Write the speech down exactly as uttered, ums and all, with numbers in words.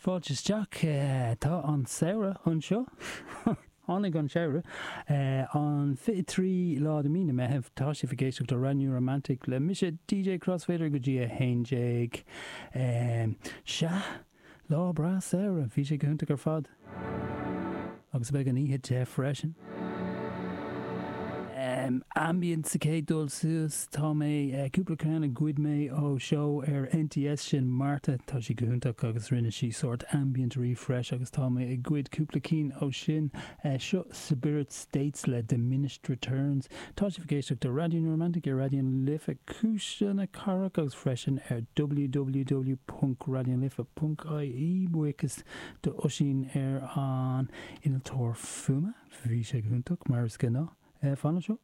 Fáilte isteach. Tá an samhradh anseo. Tháinig an samhradh. An fiche trí lá de mí na Meitheamh. Tá sibh ag éisteacht le Raidió Romantic le mise D J Crossfader go dtí a haon déag. Sea, lá breá samhradh. Bhí sé go hiontach ar fad. Agus beidh an oíche te freisin. Ambient sa chéad dul suas, tá mé cúpla ceann a ghoid mé ó seó ar N T S, sin Marta, tá sí go hiontach agus rinne sí sórt ambient refresh agus tá mé ag goid cúpla cinn ó sin. Seo Spirit States le Diminished Returns. Tá sibh ag éisteacht do Raidió na Romantic ar Raidió na Life, Cuisle na Cathrach, agus freisin ar w w w ponc raidionalife ponc i e. Buíochas do Oisín ar an innealtóir fuaime, bhí sé go hiontach mar is gnáth. Fan anseo.